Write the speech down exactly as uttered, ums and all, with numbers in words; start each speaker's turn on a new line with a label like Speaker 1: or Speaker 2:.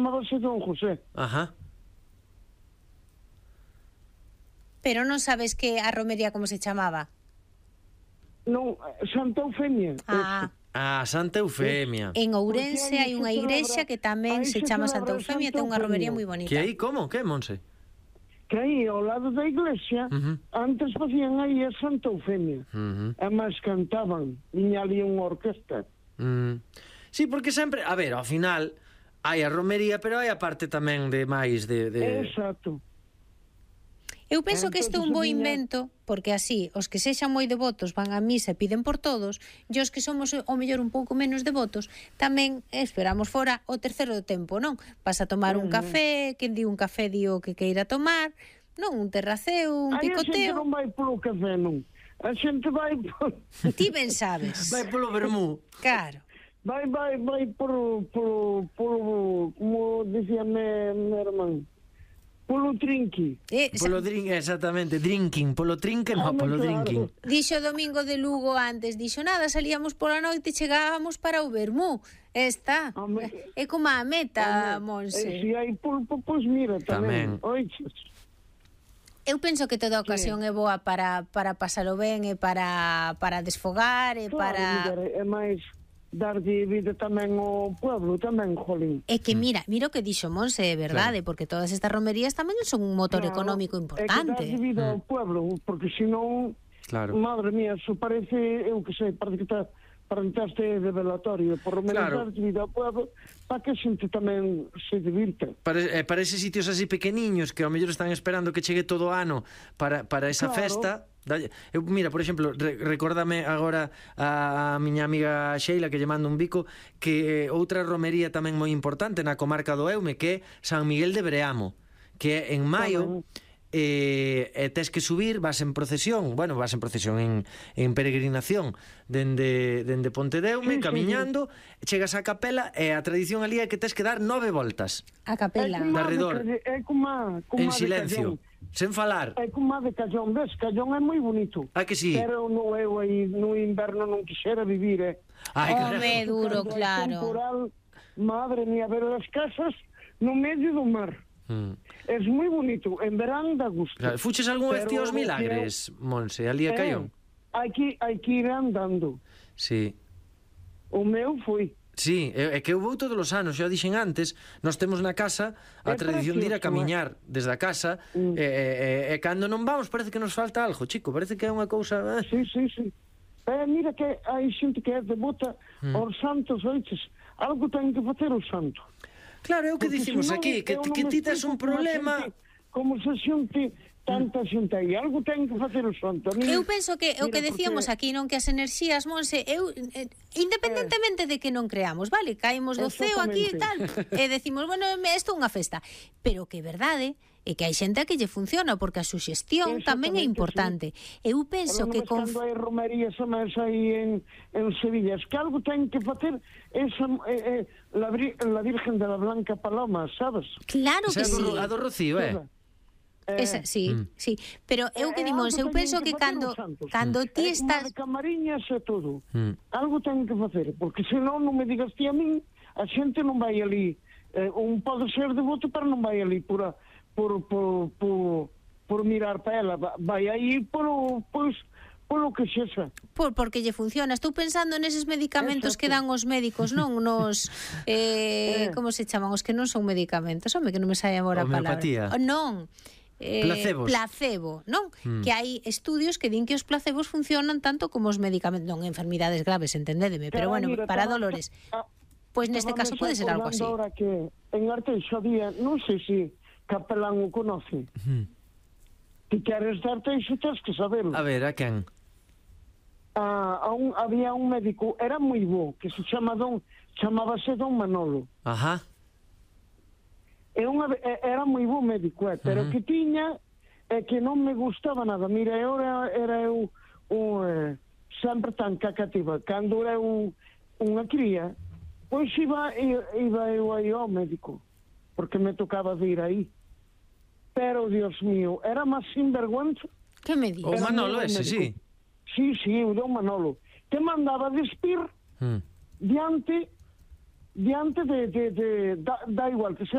Speaker 1: chamábase Don José.
Speaker 2: Ajá.
Speaker 3: Pero non sabes que a romería como se chamaba?
Speaker 1: Non, Santa Eufemia.
Speaker 3: Ah,
Speaker 2: Ah, Santa Eufemia.
Speaker 3: en Ourense hai unha igrexa que tamén
Speaker 1: aí
Speaker 3: se
Speaker 1: se
Speaker 3: chama
Speaker 1: celebra
Speaker 3: Santa Eufemia,
Speaker 1: Santa
Speaker 3: ten unha romería
Speaker 1: Eufemia.
Speaker 3: moi bonita.
Speaker 2: Que aí, como? Que, Monse?
Speaker 1: Que aí, ao lado da iglesia,
Speaker 2: Ujú.
Speaker 1: antes facían aí a Santa Eufemia.
Speaker 2: Ujú.
Speaker 1: E máis cantaban. Viña ali unha orquesta.
Speaker 2: Mm. Sí, porque sempre, a ver, ao final hai a romería, pero hai a parte tamén de máis de, de...
Speaker 1: Exacto.
Speaker 3: Eu penso que isto é un bo
Speaker 1: Entonces,
Speaker 3: invento, porque así, os que sexan moi devotos van a misa e piden por todos, e os que somos o mellor un pouco menos devotos, tamén esperamos fora o terceiro tempo, non? Vas a tomar un café, quen di un café di o que queira tomar, non? Un terraceo, un
Speaker 1: Aí a xente
Speaker 3: picoteo.
Speaker 1: non vai polo café, non. A xente vai por...
Speaker 3: Ti ben sabes.
Speaker 2: Vai polo vermú.
Speaker 3: Claro.
Speaker 1: Vai, vai, vai por, por, por, como dicía me, me irmán, polo trinqui.
Speaker 3: Eh,
Speaker 2: Polo drink, exactamente, drinking, polo trinque, no,
Speaker 1: Home,
Speaker 2: polo
Speaker 1: claro.
Speaker 2: drinking.
Speaker 3: Dixo Domingo de Lugo antes, dixo nada, salíamos pola noite e chegábamos para o vermú. Está.
Speaker 1: Home.
Speaker 3: É como a meta,
Speaker 1: E
Speaker 3: Monse.
Speaker 1: se hai pulpo, pois mira, tamén.
Speaker 2: Tamén.
Speaker 1: Oiches.
Speaker 3: Eu penso que toda ocasión é boa para, para pasalo ben e para, para desfogar e
Speaker 1: Claro,
Speaker 3: para...
Speaker 1: mira, é máis darlle vida tamén ao pueblo, tamén, jolín.
Speaker 3: É que mira, mira o que dixo Monse, é verdade, porque todas estas romerías tamén son un motor
Speaker 1: Claro,
Speaker 3: económico
Speaker 1: é que
Speaker 3: importante.
Speaker 1: darlle vida ao pueblo, porque senón,
Speaker 2: Claro.
Speaker 1: madre mía, eso parece, eu que sei, parece que está para entraste de velatorio, por lo menos
Speaker 2: Claro.
Speaker 1: darlle vida ao pueblo, para que a xente tamén se divirta.
Speaker 2: Para, eh, para eses sitios así pequeniños que ao mellor están esperando que chegue todo o ano para, para esa
Speaker 1: Claro.
Speaker 2: festa. Dalle, eu, mira, por exemplo, re, recórdame agora a, a miña amiga Sheila, que lle mando un bico, que eh, outra romería tamén moi importante na comarca do Eume, que é San Miguel de Breamo, que é en maio.
Speaker 1: Tamén.
Speaker 2: E, e tes que subir, vas en procesión, bueno, vas en procesión, en, en peregrinación dende, dende Pontedeume,
Speaker 1: Sí, sí,
Speaker 2: camiñando, chegas á capela e a tradición ali é que tes que dar nove voltas
Speaker 3: A capela.
Speaker 1: É como
Speaker 2: de
Speaker 1: a
Speaker 2: arredor.
Speaker 1: Calle- É como a, como
Speaker 2: en
Speaker 1: a de
Speaker 2: silencio,
Speaker 1: Callón.
Speaker 2: sen falar.
Speaker 1: É como a de Callón, ves? Callón é moi bonito.
Speaker 2: Ah, que sí?
Speaker 1: Pero no eu aí no inverno non quixera vivir, eh.
Speaker 2: Ai,
Speaker 3: Home,
Speaker 2: carajo.
Speaker 3: duro,
Speaker 1: Cando hai
Speaker 3: claro.
Speaker 1: temporal, madre mía, ver as casas no medio do mar.
Speaker 2: Mm.
Speaker 1: É moi bonito, en verán dá gusto.
Speaker 2: Claro, fuches algún vez
Speaker 1: Pero
Speaker 2: ti aos
Speaker 1: o que
Speaker 2: milagres, Monse, ali a
Speaker 1: é-
Speaker 2: Callón?
Speaker 1: Hai que, hai que ir andando.
Speaker 2: Sí.
Speaker 1: O meu foi.
Speaker 2: Sí, é, é que eu vou todos os anos, xa o dixen antes, nós temos na casa a
Speaker 1: É
Speaker 2: tradición de ir a
Speaker 1: precioso,
Speaker 2: camiñar desde a casa,
Speaker 1: Mm.
Speaker 2: e, e, e cando non vamos parece que nos falta algo, chico, parece que é unha cousa... Eh?
Speaker 1: Sí, sí, sí. Eh, mira que hai xente que é devota
Speaker 2: Mm.
Speaker 1: aos santos, oiches. Algo ten que facer o santo.
Speaker 2: Claro, é o que
Speaker 1: Porque
Speaker 2: dicimos
Speaker 1: senón
Speaker 2: aquí, que,
Speaker 1: eu
Speaker 2: que
Speaker 1: non me
Speaker 2: ti tes un
Speaker 1: explico como a
Speaker 2: problema...
Speaker 1: xente- Como se xente tanta xente aí, algo ten que facer o santo. A mí,
Speaker 3: Eu penso que o
Speaker 1: mira,
Speaker 3: que decíamos
Speaker 1: porque-
Speaker 3: aquí, non, que as enerxías, Monse, eu eh, independentemente de que non creamos, vale, caemos do ceo aquí e tal, e decimos, bueno, isto é unha festa, pero que é verdade é que hai xente a que lle funciona, porque a suxestión tamén é
Speaker 1: Exactamente,
Speaker 3: importante. Eu penso
Speaker 1: Pero
Speaker 3: que
Speaker 1: non
Speaker 3: con
Speaker 1: ves cando hai romerías a máis aí en, en Sevilla, es que algo ten que facer esa, eh, eh, la, Vir- la Virgen de la Blanca Paloma, sabes?
Speaker 3: claro que
Speaker 2: Esa é a
Speaker 3: sí.
Speaker 2: do, a do Rocío, eh?
Speaker 1: Eh,
Speaker 3: Esa, sí,
Speaker 2: Mm.
Speaker 3: sí, pero eu que
Speaker 1: eh,
Speaker 3: dimos,
Speaker 1: algo
Speaker 3: eu
Speaker 1: teñen
Speaker 3: penso que
Speaker 1: facer
Speaker 3: cando
Speaker 1: os santos.
Speaker 3: cando ti
Speaker 1: É como
Speaker 3: estás
Speaker 1: de camariñas e todo.
Speaker 2: Mm.
Speaker 1: Algo ten que facer, porque senón non me digas ti a min, a xente non vai ali. Eh, un pode ser devoto, pero non vai ali por, a, por, por, por, por mirar para ela. Va- Vai aí por, pois, polo que xexa.
Speaker 3: por, porque lle funciona. Estou pensando neses medicamentos
Speaker 1: Exacto.
Speaker 3: que dan os médicos, non? Nos eh,
Speaker 1: Eh.
Speaker 3: como se chaman? Os que non son medicamentos. Home, que non me sai agora a palabra.
Speaker 2: Homeopatía.
Speaker 3: Oh, non. Eh,
Speaker 2: Placebos.
Speaker 3: Placebo, non?
Speaker 2: Mm.
Speaker 3: Que hai estudios que din que os placebos funcionan tanto como os medicamentos, non enfermidades graves, entendédeme, pero
Speaker 1: Claro,
Speaker 3: bueno,
Speaker 1: mira,
Speaker 3: para
Speaker 1: estaba-
Speaker 3: dolores.
Speaker 1: ah,
Speaker 3: Pois neste
Speaker 1: estaba
Speaker 3: caso
Speaker 1: me
Speaker 3: pode ser algo así.
Speaker 1: acordando Ahora que en Arteixo había, non sei se Capelán o conoce.
Speaker 2: Mm.
Speaker 1: Si queres de Arteixo, tens que saberlo.
Speaker 2: A ver, a quen?
Speaker 1: Ah, a un, había un médico, era moi bo, que se chama Don, chamábase Don Manolo.
Speaker 2: Ajá.
Speaker 1: É unha, é- era moi bo médico, eh, pero
Speaker 2: Ujú.
Speaker 1: que tiña é que non me gustaba nada. Mira, eu era, era eu un, eh, sempre tan cacativa. Cando era eu unha cría, pois iba, i- iba eu aí ao médico, porque me tocaba de ir aí. Pero, Dios mío, era máis sinvergüenza.
Speaker 3: Que me
Speaker 2: O
Speaker 3: dis?
Speaker 1: Era
Speaker 2: Manolo
Speaker 1: moi bo
Speaker 2: ese, sí.
Speaker 1: médico. Sí, sí, o Don Manolo. Te mandaba despir
Speaker 2: Mm.
Speaker 1: diante diante de, de, de da, da igual que sea